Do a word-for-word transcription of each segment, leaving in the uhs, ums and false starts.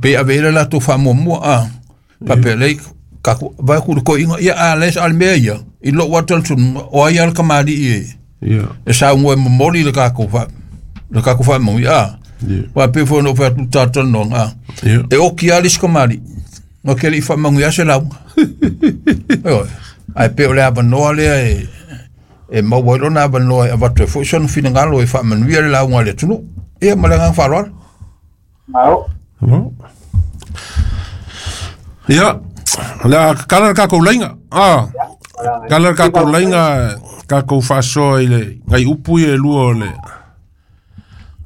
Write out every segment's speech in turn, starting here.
Pe ave le latou faamuamua a faapea lei kaku vai ku ko inga ia a le al mea ia i lo wa talitonuga o ai a le kamali'i e e saugoa e momoli le kakou fa le kakou faamaui a ua pei foi ona ou fai atu talatalanoaga a e oki lava le isi kamali'i na ke le'i faamanuia se lauga ioe ae pei o le avanoa lea e e maua ai lona avanoa e avatu ai foi sona finagalo e faamanuia le lauga a le atunuu. Ia ma le agaga faaaloalo. Malo. Ia, o le a kala le kakou laiga. Ah, kala le kakou laiga kakou faasoa i le nai upu ia e lua o le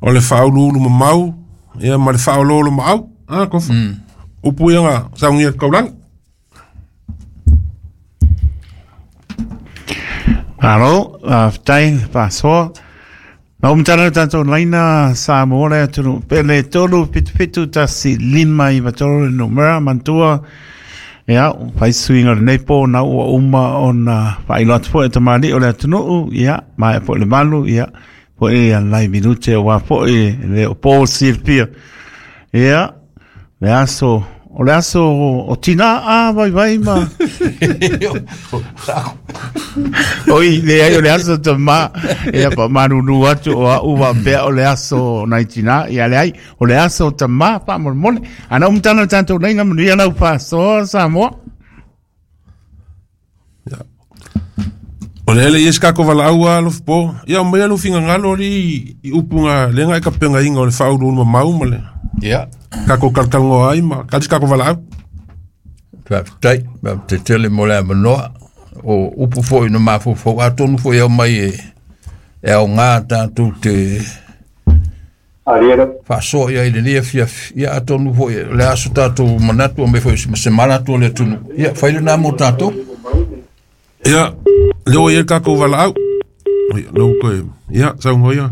o le faauluulu mamau ia ma le faaoloolo maau. Ah, kofa. Upu ia nga saugia le kaulagi. Malo, faafetai le faasoa. Na ou matala le tatou laina Samoa le atunuu pele tolu fitu fitu tasi lima iva tolu le numera manatua. Ia, fai suiga o lenei po na ua uma ona faailoa atu foi e tamalii o le atunuu, ia, maea foi le valu, ia, foi ia nai minute aua foi le o po silafia. Ia, le aso, o le aso o tina a vaivai ma oi leai o le aso tamā ia faamalulu atu o a'u faapea o le aso nai tinā ia leai o le aso tamā faamolemole ana ou matala le tatou laiga manuia lau faasoa Samoa. O le ele i se kakou valaau a alofa po. Ia o mai lou finagalo alii i upu ga lea ga e tapegaina o le faauluulu mamau ma le Ia. kakou talatalanoa ai ma kali se kakou valaau. Faafetai, faafetai tele mo le avanoa. O upu foi na mafaufau atonu foi e aumai e e aogā tatou te faasoa i ai i lenei afiafi. Ia atonu foi o le aso tatou manatu aumai foi ma se manatu o le atunuu. Ia fai lenā mo tatou. Ia, lea ua i ai le kakou valaau. Ia, lea ua toe, ia, saunoa ia.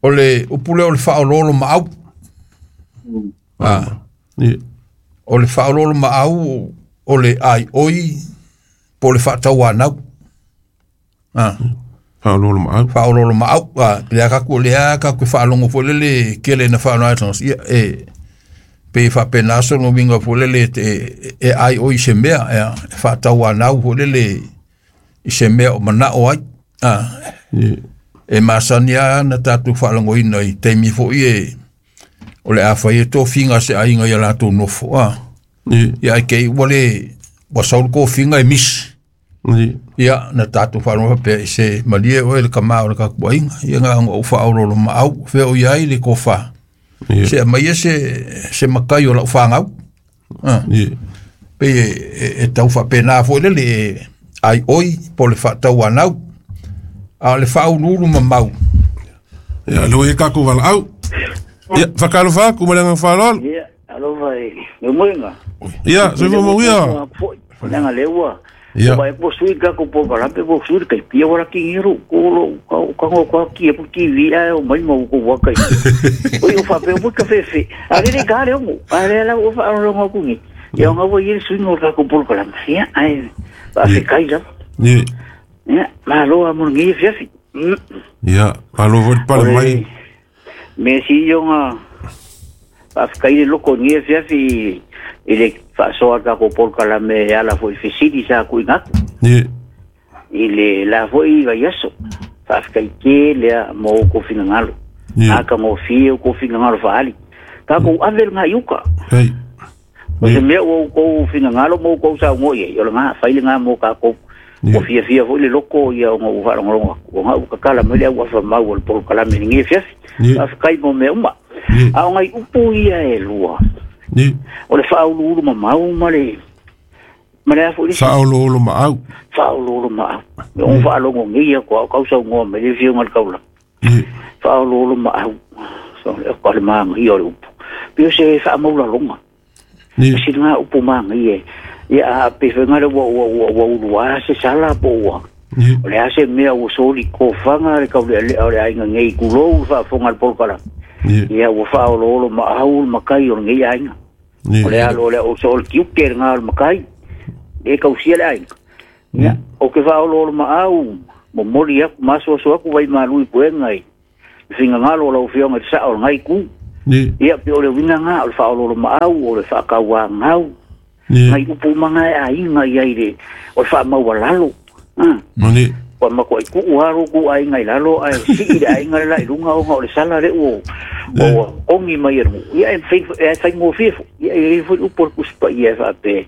O le upu lea o le faaoloolomaau. A, Ia. o le faaoloolomaau o le aioi po o le faatauanau. A. Faaoloolomaau. Faaoloolomaau. A, lea kaku lea kaku faalogo foi lele kele na faanoa ai ia e pe faapena sona uiga foi lele e e aioi i se mea ia e faatauanau foi lele i se mea o manao ai. A, Ia. e masani lava na tatou faalogoina i taimi foi e o le a fai e tofiga a se aiga ia latou nofo a. Ia. Ia ai ke ua le ua sau le kofiga e misi. Ia. Ia na tatou faalogo faapea i se malie oe le kamā o le kakou aiga. Ia na ona ou faaoloolomaau fea o i ai le kofa. Ia. Se aumai se se makai o lau fagau. A. Ia. Pei e, e, e tau faapena foi lele e ai oi po o le faatauanau. A o le faauluulu mamau. Ia, lea ua i ai le kakou valaau. Ia, faatalofa atu ma le agaga faaaloalo. Ia, alofa i le moega. Ia, soifua manuia. Foi, leaga lea ua Ia. ua po sui ka ko po kala pe po sui kai pia wala ki ngiru ko lo ka ka ngo ka ki e pu T V ai o mai mo ko wa kai. Oi o fa pe o ka fe fe. A le ka le ngo. A le la o fa ro ngo ku ngi. Ia ngo wo ye sui ngo ka ko po kala. Ia ai ba fe kai la. Ia. Ia, ma lo a mo ngi fe fe. Ia, malo foi le pale mai. Me si yo nga fa kai le loko ngi fe fe i le faasoa ka ko pol kala me ala foi fesili sa ku ingaku. Ia. I le la foi vai aso. Fa kai ke le mo ko finangalo. Ia. A ka mo fi ko finangalo fa ali. Ka ko ave nga yuka. Hei. O se mea ua oukou finagalo ma oukou saugoa i ai, o le ga fai le ga mo kakou. Ia. Ua fiafia foi le loko ia ona ou faalogologo atu. Ona ua kakala mai le auafamau o le polokalame i lenei afiafi. Ia. Faafetai mo mea uma. Ia. A o nai upu ia e lua. Ia. O le faauluulu mamau ma le ma le a foi le isi. Faaoloolomaau. Faaoloolo maau. E o faalogo nei ia koa o kau saugoa mai le afioga i le taulaga. Ia. Faaoloolo maau. So le o le maga ia o le upu. Pei o se faamaulaloga. Ia. Se nga upu maga ia. Ia a pe whenga le ua ua ua ua ulua se sala po ua. Ia. O le a se mea ua soli kofanga le kau le le o le aiga ngei kulou faafofoga le polokala. Ia. Ia ua faaoloolo maau le makai o le ngei aiga. O le Ia. alo le o so o le kiuke le ngā o le makai. E kausia le aiga. Ia, o ke faaoloolo maau, momoli aku, masoaso aku vai malui puenga i. Fingangalo o lau afioga i le sao o le ngai ku. Ia pe o le uiga gā o le faaoloolo maau o le faakauagau ngai upu umaga e aiga ia i le o le faamaualalo ua makuai kuu alo ku aiga i lalo ae sii le aiga le la i luga ona o le sala le ua ua ogi mai e lugu ia e faigofie fo ia e i foi upu o le tusi paia e faapea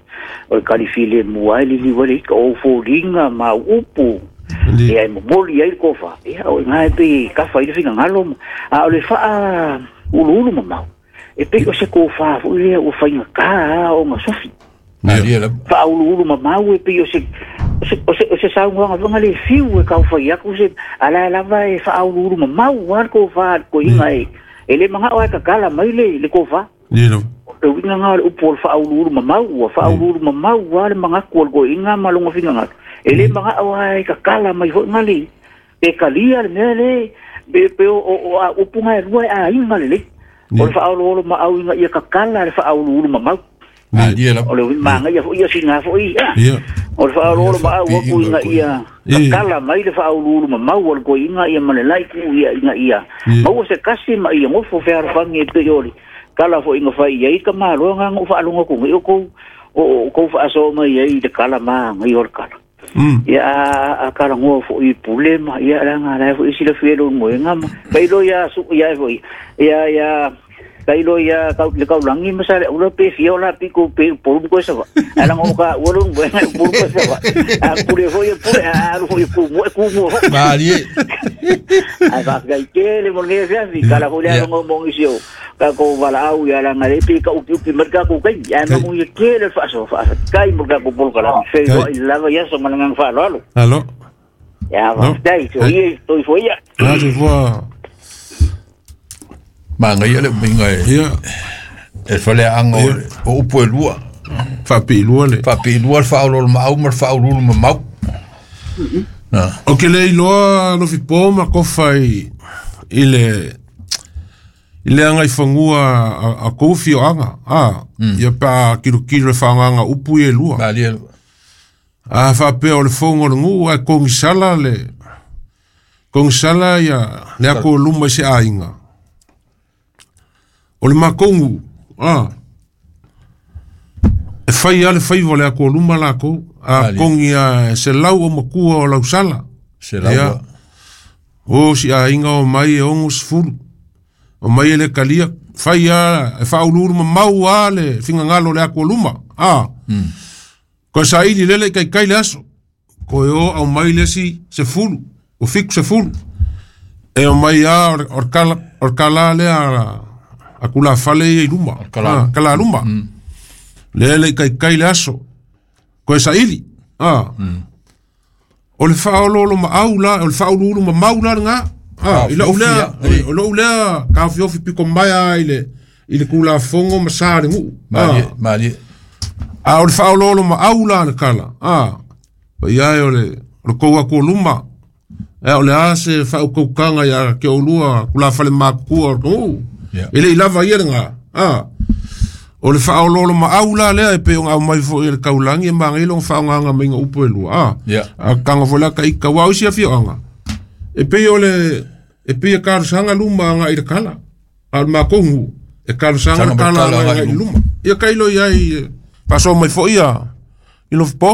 o le kalifile mua ai liliu ai le ika o foliga ma upu ia e momoli ai le kofa ia o iga e pei kafa i le finagalo a o le faa uluulu mamau e pei o se kofa foi lea ua faigatā ona sofi faauluulu mamau e pei o se o se o se saunoaga foga le fiu e kaufai aku se ala lava e faauluulu mamau a le kofa le koiga e e le magao ai kakala mai le le kofa o le uiga gā o le upu o le faauluulu mamau ua faauluulu mamau a le magaku o le koiga ma loga finagalo e le magao ai kakala mai foiga le pe kalia le mea le pe pe o o a upu ga e lua e aiga lelei o le faaoloolo maau iga ia kakala le faauluulu mamau o le maga ia fo'i ia siga fo'i o le faaoloolo maau aku iga ia kakala mai le faauluulu mamau o le koiga ia ma le laiku ia iga ia maua se kasi ma ia gofo fealofagi e pei o le kala fo'iga fai ai ka maloga ga'u faalogo atuga i o kou o kou faasoa mai ai i le kala magai o le kala ia a kalagoa fo'i pule ma ia laga lae fo'i silafia i lou moega ma kailo ia su'u ia e fo'i ia ia kailo ia le kaulagi ma sa le ula pe fia o la piko pe upolu ma koe sava ae laga o ka ua lou moega e upolu koe sava a pule fo'i e pule a alu fo'i e kumua e kumua fo'i malie ae faafetai tele mo lenei afiafi kala fo'i le aloga o mogisi o tatou valaau ia laga le pe kaupiupi mai le tatou taimi ae manuia tele le faasoa faafetai mo le tatou polokalame feiloai lava ia aso ma le agaga faaaloalo alo ia faafetai soia toifua ia toifua magaia le umiga e e faleaga o upu e lua faapiilua le faapiilua le faaoloolo maau ma le faauluulu mamau o ke le iloa lofipo ma kofa i i le i le agaifanua a kou fioaga a ia pe a kilokilo le faagaga upu ia e lua a faapea o le foga o le guu ae kogisala le kogisala ia le ako luma i se aiga o le makou guu a e fai a le faiva o le ako luma lakou a kogi a se lau o makua o lausala ia o si aiga o mai e ogo sefulu o mai e le kalia fai a e faauluulu mamau a le figagalo o le ako luma a koe saili lele i kaikai le aso koe o au mai le isi sefulu o fiku sefulu e o mai a o le kala o le kala lea a kulafale ia i luma kala luma lele i kaikai le aso koe saili a o le faaoloolo maau la o le faauluulu mamau la lagā a i la'u lea o lo'u lea kaofiofi piko mai a i le i le kulafogo ma sa le guu malie a o le faaoloolo maau la le kala a paia e o le o le kou aku o luma e o le a se faaukaukanga ia ke oulua kulafale makukua o le guu e le'i lava ia lagā a o le faaoloolo maau la lea e pei ona aumai fo'i e le kaulagi e magai loga faaaogaga maiga upu e lua a a kaga foi la kaika uā o isi afioaga e pei o le e pei e kalosaga luma aga'i le kala a o le makou guu e kalosaga le kala aga'i le luma ia kailo iai faasoa mai fo'i ia i lofipo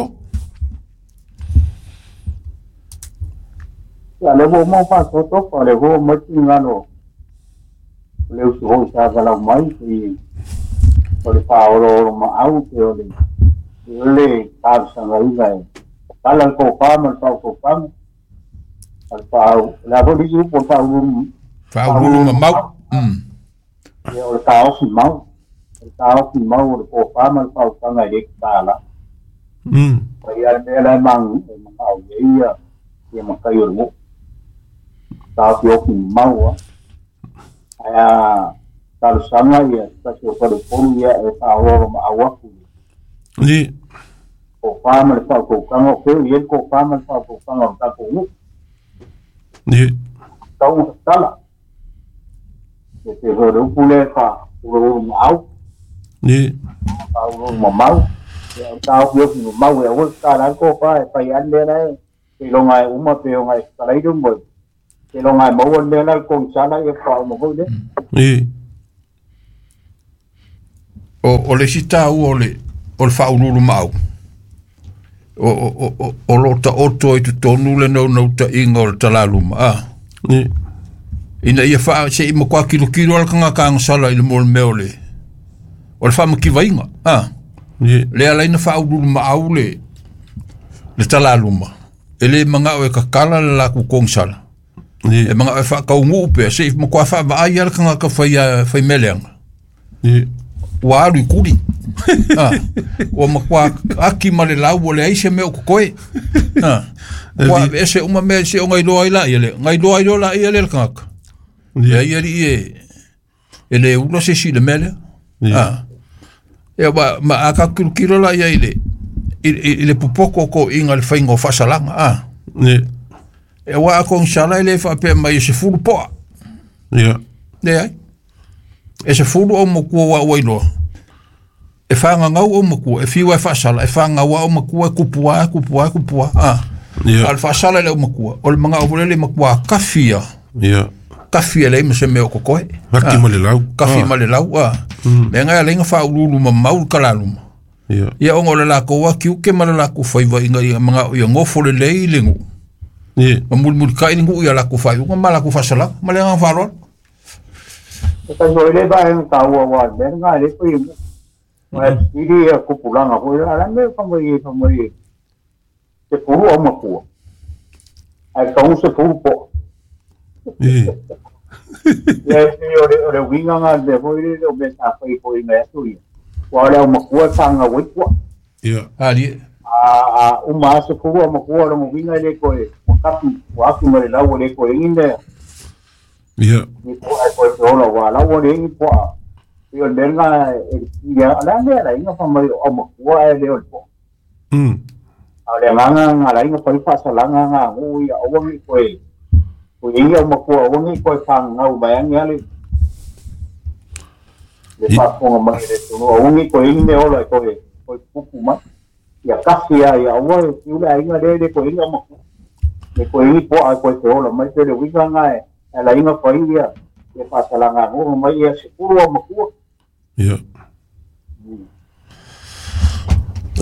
ia le ua mau faasoa le ua mai finagalo o le usu hoi sa valau mai i o le faaoloolo maau pe o le o le talosagaina e kala le kofā ma le faaukaukaga o le faaau o le a foi le isi upu o le faauluulu faauluulu mamau ia o le taofi mau o le taofi mau o le kofā ma le faaukaga e le tatala ia le mea la e magao i ai ia ia matai o le guu taofiofi mau a ae a talosaga ia tasi o falepolu ia e faaoloolo maau aku ni kofā ma le faaukaukaga o feu i ai le kofā ma le faaukaukaga o le tatou guu ni tau tatala e te foi o le upu lea faauluulu maau ni faauluulu mamau ia o le taofiofi mamau e aua le tatala ai le kofā e fai ai le mea lae seiloga e uma pe oga e talai le moe seiloga e maua le mea la le kogisala ia faauma foi lea ni O o le sita o le o le faauluulu maau. O o o o lo ta oto i totonu le naunautaiga o le talaluma a. Ina ia faa se i makuā kilokilo a le kagakagasala i le mo le mea o le o le faamativaiga a. Le alaina faauluulu maau le le talaluma. E le magao e kakala le lakou kogisala. E magao e faakauguu pea se i makuā faavaai a le kagaka faia faimeleaga. Ua alu i kuli. Ah, ua makuā aki ma le lau o le ai se mea o kokoe. Ah, ua ese uma mea se o ngailoa ai la ia le. Ngailoa ai la ia le le kagaka. Ia ia li e e le ula se si le mea lea. Ah, ia ma ma a kilokilo la ia i le i le popoko ko inga le fainga o faasalaga. Ah, e ua a kogisala e le faapea mai e sefulu poa. Leai. E se fulu o makua wa ua iloa. E whangangau o makua, e fiwa e whaasala, e whangaua o makua, e kupua, e kupua, e kupua. Ah. A le whaasala le o makua. O le manga o le makua kawhia. Kawhia le ima se mea o kokoe. Kaki ma le lau. Kawhi ma le lau. Me ngai a lenga whaululu ma maul kalaluma. Ia ongo le lako wa kiuke ma le lako whaiwa inga ia manga o ia ngofo le lei le ngu. Ma mulimuli kai le ngu ia lako whaiunga ma lako whaasala. Ma le ngā wharoa. E kai le ba en ka ua wa me nga le ko i ma siri e kupulanga ko ala me fa mo i fa mo i te puru o makua ai ka un se puru po e e o le o le winga nga le mo i le o me sa fa i ko i me tu i wa le o makua tanga wei ko ia ali a a uma se puru o makua lo winga le ko e kapi wa ku me la wo le ko i ne. Ia. Ni po ai ko te ola wa la wo le ni po a. Ia le nga e ia la ne la inga fa mai o makua e le o po. Mm. A le nga nga la inga fa fa sa la nga nga o ia o ngi ko e. O ia o makua o ngi ko fa nga u ba nga le. Le fa ko ma le tu o ngi ko i me ola ko e ko pupu ma. Ia kasi ia ia o e ula inga le le ko inga makua. Le ko i po a ko te ola mai te le winga nga e. Ela inga fa ia e faasalaga go mai ia sefulu o makua. Ia.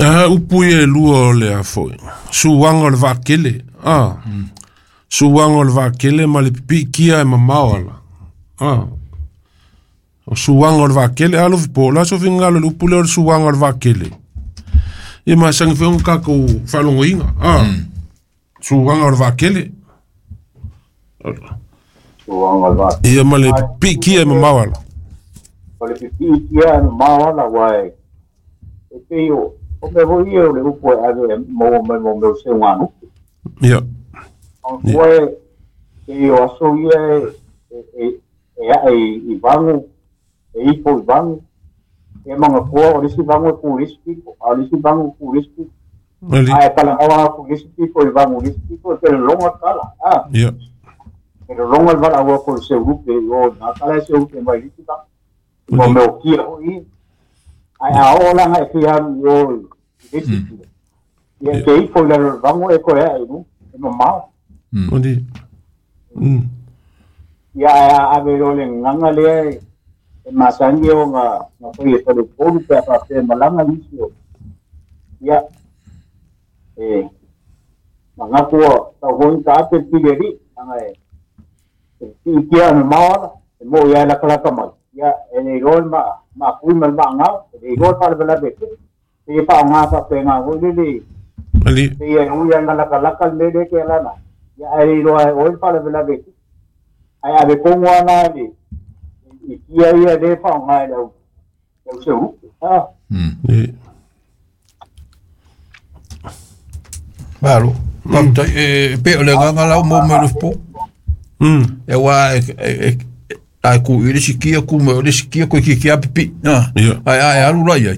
Ah, upu ia e lua o le afoi. Suaga o le vaakele. Ah. Suaga o le vaakele ma le pipiikia e mamao ala. Ah. O suaga o le vaakele alo fipo la so fingalo le upu le o le suaga o le vaakele. Ia masangi foi kakou faalogoiga. Ah. Suaga o le vaakele. Ia ma le pipiikia e mamao ala. O le pipiikia e mamao ala wa e. E pei o o me voi e o le upu e ave e mo me mo me se nganu. Ia. O koe e o aso ia e e e e i vangu e ipo i vangu e manga koa o lisi vangu e ku lisi pipo a lisi vangu ku lisi pipo. A e kala awa ku lisi pipo i vangu lisi pipo e te longa kala. Ah. Ia. Pero longa el vala ko se upe o na kala se upe mai lisi ta. Mo me o kia o i. Ai a ola ngai fia o lisi. Ia te ipo le vangu e ko e ai e mamao. Ondi. Mm. Ia a ave lo le nganga le e masangi o nga nga foi e pole polu pe pa pe malanga lisi o. Ia e manga ko ta hoi ta te pileri anga e i kia na maola e mo ia la kala mai. Ia e le rol ma ma kui ma ma nga e rol pa le be e pa nga pa pe nga ho le le. Ali. Ia u ia nga la kala kala le le ke la na. Ia e ro e ol pa le be ai ave ko ngwana le i kia ia le pa nga le o se u. Ah. Mm. Malo. Pa e pe o le nga la mo me le po. Mm. E wa e e ai ku i le sikia ku me le sikia ko ki ki apipi. Ah. Ai ai alu la ia.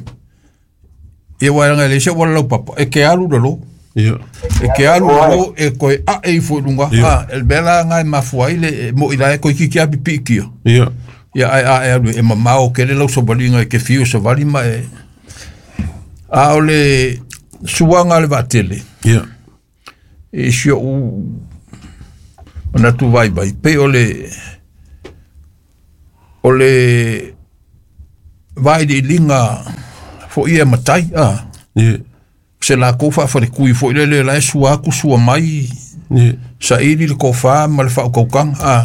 Ia wa nga le se wala lo papa e ke alu lo. Ia. E ke alu lo e ko a e fu lunga. Ah, el bela nga mafua ile mo ila e ko ki ki apipi ki. Ia. Ia ai ai alu e mamao ke le lau sobalinga e ke fiu sobali ma e. A o le suanga le vatele. Ia. E si o na tu vai vai pe o le o le Vailiiliga foʻi e matai a se lakou faafalikui foʻi lele la e sua aku sua mai saili le kofā ma le faakaukaga a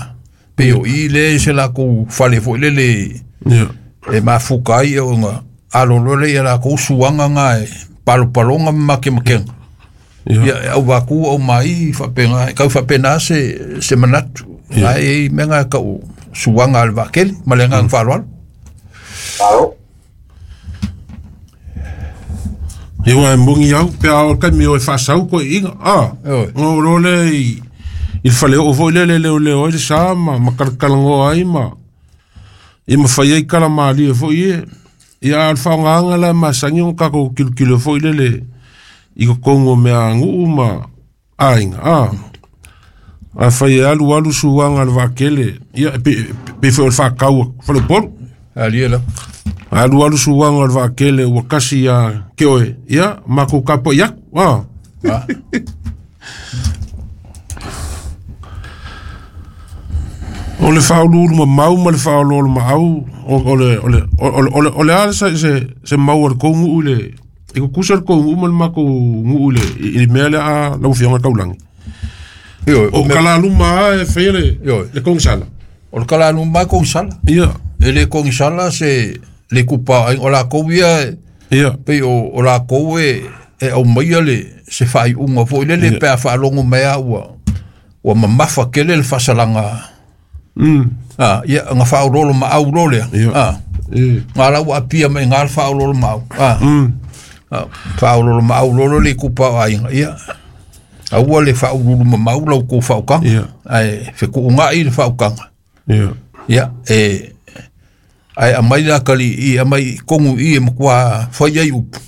pe o i le se lakou fale foʻi lele e mafuka ai oga alolo le ia lakou suaga ga e palopaloga ma makemakega ia au vaku au mai faapega kau faapena se se manatu ai mega kau suaga a le vaakele ma le agaga faaaloalo. Ia ua e mogi au pe a o kaimi o e faasau koeʻiga a o lo le i le faleoo foʻi lea le leoleo ai le sa ma ma kalakalanoa ai ma ia mafai ai kalamalie foʻi e ia a o le faaaogāga la e masagi ona kakou kilokilo foʻi lele i kokogu o mea aguʻu ma aiga a afai e alu alu suaga a le vaakele ia pe foi o le faakau faleupolu alia la alu alu suaga o le vaakele ua kasi ia ke oe ia makou kapoʻi aku a o le faauluulu mamau ma le faaoloolo maau o le o le o le o le a se se se mau o le kou guʻu i le i kukusa le kou guʻu ma le makou guʻu i le i le mea lea a lau afioga taulagi o kalaluma a e faia le le kogisala o le kalaluma e kogisala ia e le kogisala se le kupa o lakou ia ia pei o o lakou e e aumaia le se faaiuga foʻi lele pe a faalogo mai a ua ua mamafa kele le faasalaga mm a ia nga faaololo maau lo lea a nga la ua apia mai nga le faaololo maau a mm faaololo maau lolo le kupa o aiga ia aua le faaululu mamau lau kou faaukaga ae fekuugaʻi le faaukaga ia ia e ae aumai la kaliii aumai kogu i e makuā fai ai upu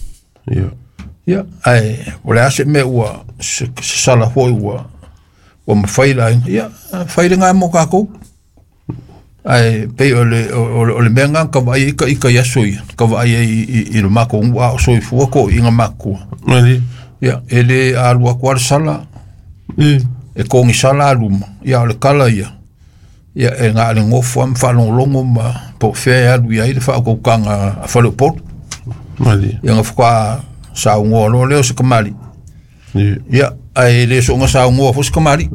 ia ia ae o le a se mea ua se sala foʻi ua ua mafai la aiga ia fai lagā mo kakou ae pei o le o le mea ga ka vaai ai ka i aso ia ka vaai ai i le makou guʻu a o soifua koʻiʻiga makua mali ia e lē alu aku a le sala e kogisala aluma ia o le kala ia ia e ga le gofo a ma faalogologo ma po o fea e alu iai le faakaukaga a faleupolu mali ia gafoka saugoa loa lea o se kamaliʻi ia ae lē soʻoga saugoa foʻi se kamaliʻi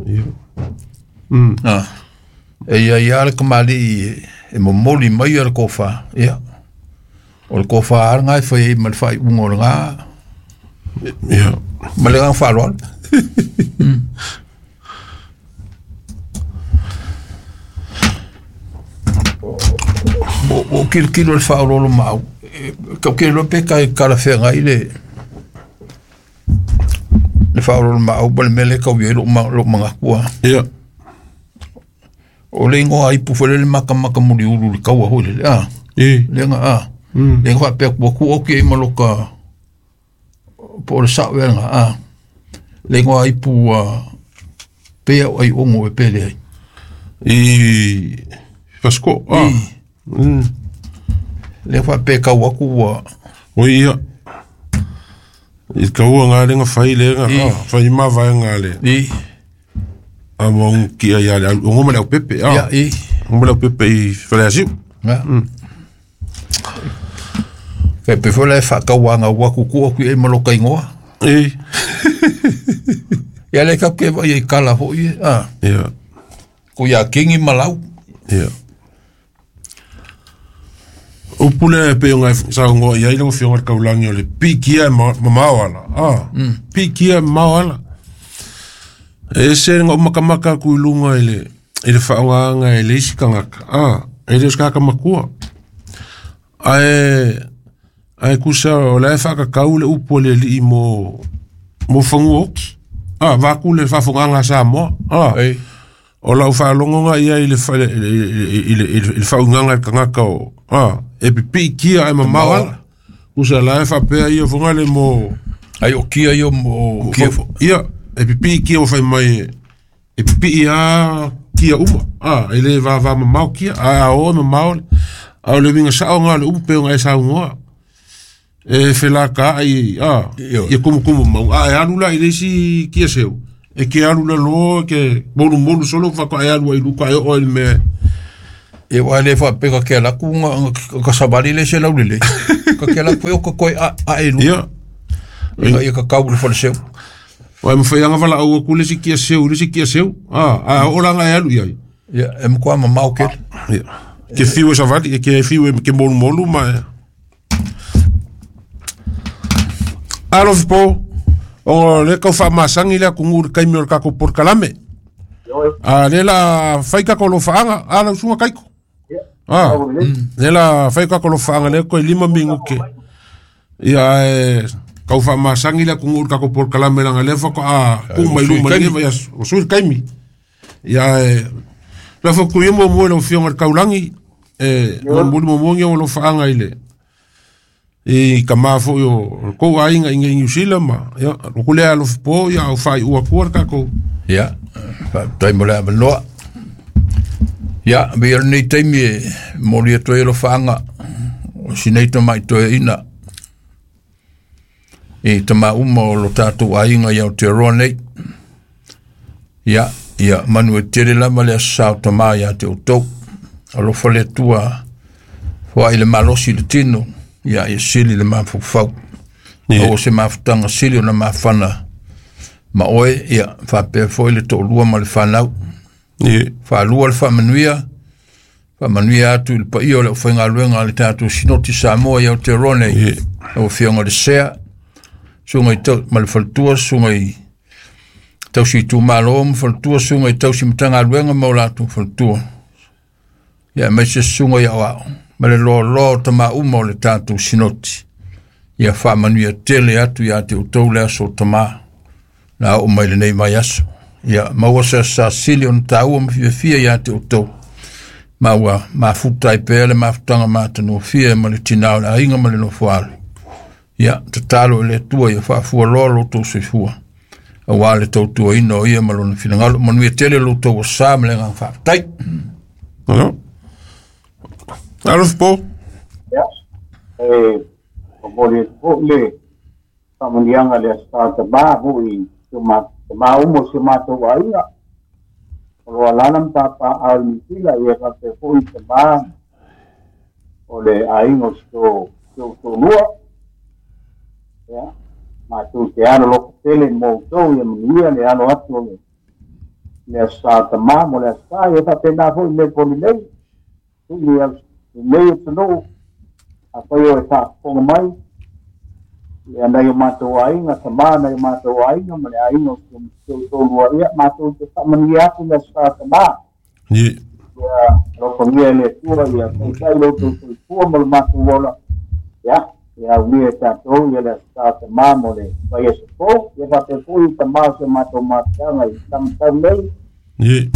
mm a e ia ia le kamaliʻi e momoli mai a le kofā ia o le kofā a lagā e fai ai ma le faaiuga o lagā ia ma le agaga faaaloalo. O kilokilo le faaoloolo maau kaukele pe kai kalafeagai le le faaoloolo maau ma le mea lea kau iai lou magaku ia o le igoa aipu foi lele makamaka muliulu le kaua foi lele a lega a lega faapea ua kuʻu ai ma loka po o le saʻo ea lega a le igoa aipu a pea o ai ogo e pele ai i Fasco a mm le faapea kau aku ua o ia i kaua ngā lenga fai lenga fai mavaega le i a mo kia ia le o ngoma le au pepe a ia i ngoma le au pepe i faleasiu ia kai pe foi le faakauaga ua kukuʻu aku ai ma loka igoa i ia le kau ke vaai ai kala foʻi a ia ko ia kingi malau ia upu le pe o ngai saugoa iai lau afioga le kaulagi o le pikia mamao ala a pikia mamao ala e ese ga ou makamaka aku i luga i le i le faaaogāga e le isi tagata a e le o se kaka makua ae ae kusa o la e faakakau le upu a le alii mo mo fagua oki a vaku le faafogāga a Samoa a o lau faalogoga ia i le i le i le faauigaga i le tagata o a e pipiikia ae mamao ala kusa la e faapea ia foga le mo ai o kia ia mo kia ia e pipiikia ua fai mai e pipii a kia uma a e lē vavā mamao kia ae a o e mamao a o le uiga saʻoga o le upu pe ona e saugoa e felakaʻai a ia kumukumu mau a e alu la i le isi kia seu e ke alu laloa ke molumolu solo faatoa e alu ai luka e oo ai le mea E wa le fa pe ka ke la ku ka savali le se lau le. Ka ke la ku o ka koi a a e lu. Ia. Ia ka kau le fale seu. Wa mo fai anga vala au ku le si kia seu, le si kia seu. Ah, a o langa e alu ia. Ia, e mo kwa mamau ke. Ia. Ke fiu e savali, ke fiu e ke molu molu ma. Alo po. O le kau fa masangi le ku ngur kai mi o ka ko por kalame. A le la fai ka ko lo faanga, ala usunga kaiko. Ah, le la fai ka ko lo faanga le ko lima mingu ke. Ia e kau fa masangi le ku ngur ka ko por kalame la le fa ko a ku mai lu mai le vai o sul kaimi. Ia e la fa ku mo mo lo fionga kaulangi e mo mo mo ngi lo faanga ile. E ka mafo yo ko ainga inga New Zealand ma ya ko le alo po ya o fai ua kuar ka ko ya tai mo le no ya be ni taimi mo le to lo fanga o sinei to mai to ina e tama uma o lo tatu ainga ya o te rone ya ya manu e tere la ma le sa tama ya te o to alo fale tua fo ile malosi le tino ia e sili le mafufau. O se mafutanga sili o na mafana. Ma oe, ia, whapea foi le to'olua ma le whanau. Whaalua le whaamanuia. Whaamanuia atu i le paia o le ufaigaluega a le tātou Sinoti Samoa i Aotearoa nei. O fionga le sea. Sunga i tau, ma le faletua, sunga i tausi i tūmalo ma faletua, sunga i tausi matagaluega ma o latou faletua. Ia, mai se sunga i au ao. Ma le loa loa o tama uma o le tātou Sinoti. Ia whaamanuia tele atu ia te utou le aso o tama. Na o mai lenei mai aso. Ia maua sa sa sili o na tāua ma fiafia ia te utou. Maua mafuta i pea le mafutanga mātanoa fia ma le tinao le ainga ma le nofoalu. Ia tatalo i le tua ia whaafua loa lo tau soifua. Awa le tautua ina o ia ma lona finangalo. Manuia tele lo tau o sa ma le ngang whaatai. Hello. Alo po. Ya. Eh, o moli po le famunianga le sa ta ba hui ma ma umo se ma to ai. O alana pa pa al mitila ia ka te foi te ba o le ai no sto to to lua. Ya. Ma tu te alo lo tele mo to ia mia le alo atu le le sa ta ma mo le sa ia ta te na foi le poli nei. Tu nei te no a pai o ta ponga mai ia nai o mātou ainga ta ma nai o mātou ainga ma le ainga o te tolu ia mātou te whamania atu le sa ta ma ia rokongia le tua ia taitai lo tau soifua mo le mātou ola ia ia unia e tātou ia le sa ta ma mo le pai e se fou ia whapefui ta ma se mātou mātanga i tamatau nei ia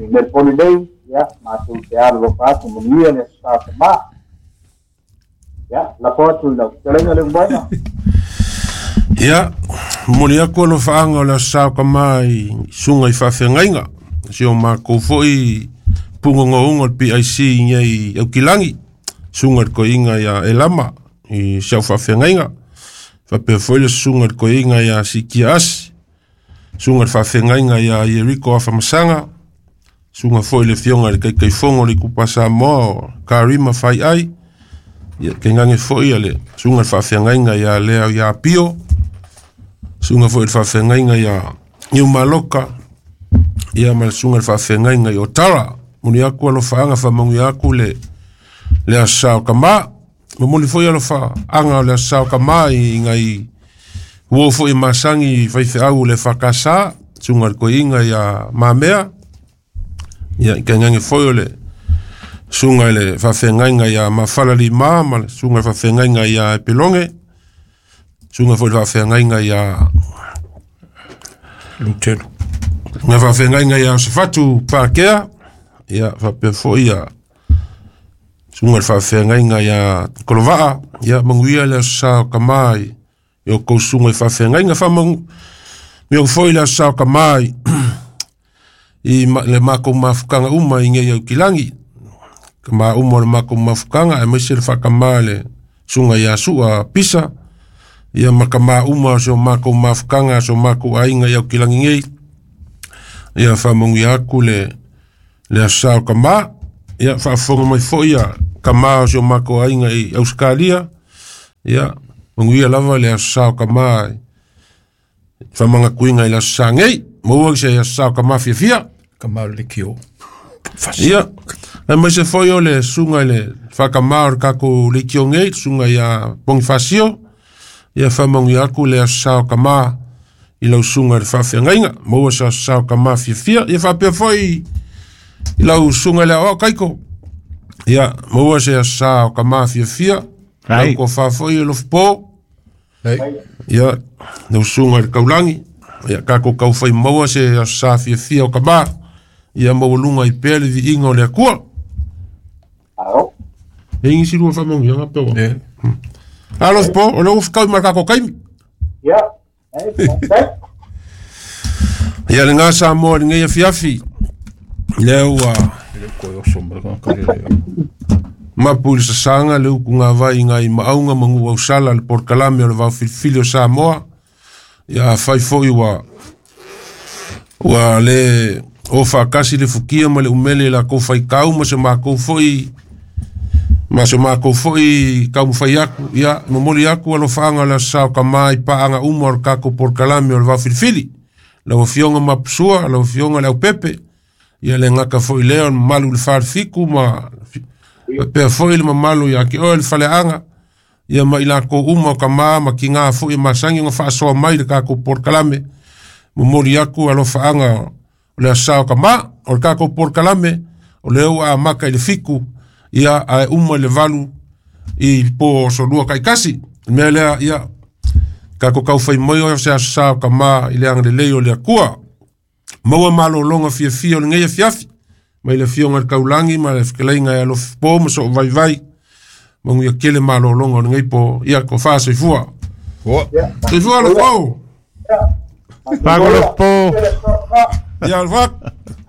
i Melponi nei ia mātou te alo lopa atu manuia le sa ta ma. Ia, la fotu lau telenga le umbaina. Ia, moli aku alo whaanga o le sa ka mai sunga i whawhengainga. Si o mākou foi pungongo ungo le P I C i ngei aukilangi. Sunga le koinga ia Elama i siau whawhengainga. Whapea foi le sunga le koinga ia Sikia Asi. Sunga le whawhengainga ia Yeriko Awhamasanga. Sunga foi le fionga le kaikaifongo le kupa Samoa Karima whai ai. Ia ke ngange foi le sunga le whawhengainga ia Lea ia Pio. Sunga foi le whawhengainga ia Niumaloka. Ia ma le sunga le whawhengainga i Otara. Muni aku alo whaanga whamangu aku le le asao ka ma. Mamuli foi alo whaanga le asao ka ma i ngai uo foi masangi whaiwheau le whakasa. Sunga le koinga ia Mamea. Ia ke ngange foi o le sunga le whawhengainga ia Mawhalali ma, ma le sunga le whawhengainga ia Epelonge. Sunga foi le whawhengainga ia Lutelu. Nga whawhengainga ia Osefatu Pākea. Ia whapea foi ia sunga le whawhengainga ia Kolovaa. Ia manguia le sao ka mai i o kou sunga i whawhengainga whamangu. Mio foi le sao ka mai i ma, le mākou mafukanga uma i ngei au kilangi. Ka mā uma o le mākou mafukanga e maise le whakamā le sunga ia sua pisa. Ia ma ka mā uma o so mākou mafukanga so mākou ainga i au kilangi ngei. Ia whamangu ia aku le le asao ka mā. Ia faafofoga mai foi ia kamā o si o makou aiga i Ausekalia. Ia manuia lava le aso sa o kamā faamagakuiga i le aso sa nei. Maua se aso sa o kamā fiafia. Kamā o le kio. Ia, ae mai se foi o le suga i le faakamā o le kakou leitio nei, suga ia Ponifasio. Ia faamanuia aku le aso sa o kamā i lau suga i le faafeagaiga. Maua se aso sa o kamā fiafia. Ia faapea foi i lau suga i le aoao kaiko. Ia, maua se aso sa o kamā fiafia. Lau kofā foi e lofo. Ia, lau suga i le kaulagi. Ia, kakou kaufai maua se aso sa fiafia o kamā. Ia maualuga ai pea le viiga o le Akua. E igi silua faamanuiaga pe ua. Alo po, o le ua fekau ma le kakou kaimi. Ia. Ia lagā Samoa i lenei afiafi. Lea ua mapu i le sasaga le ukugavai i nai maauga ma nu'u ausala le polokalame o le vaofilifili o Samoa. Ia afai foi ua ua le o faakasi le fukia ma le umele i lakou faitau ma se makou foi ma se makou foi taumafai aku. Ia momoli aku alofaaga o le aso sa o kamā i paaga uma o le tatou polokalame o le vaofilifili. Lau afioga Mapusua, lau afioga le Aupepe. Ia le gata foi lea o le mamalu i le falefitu ma faapea foi le mamalu ia te oe le faleaga. Ia ma i lakou uma o kamā ma tigā foi e masani ona faasoa mai le tatou polokalame. Momoli aku alofaaga o le aso sa o kamā. O le tatou polokalame o lea ua amata i le fitu. Ia ae uma i le valu i le po o solua taitasi. Le mea lea, ia tatou taufai mai o se aso sa o kamā i le agalelei o le Akua. Maua malologa fiafia o lenei afiafi mai le afioga i le Taulagi ma le fetalaiga e alofi po ma soo vaivai. Manuia tele malologa o lenei po. Ia ko faasoifua. Soifua alofa. Pagolo po. Ia alfa.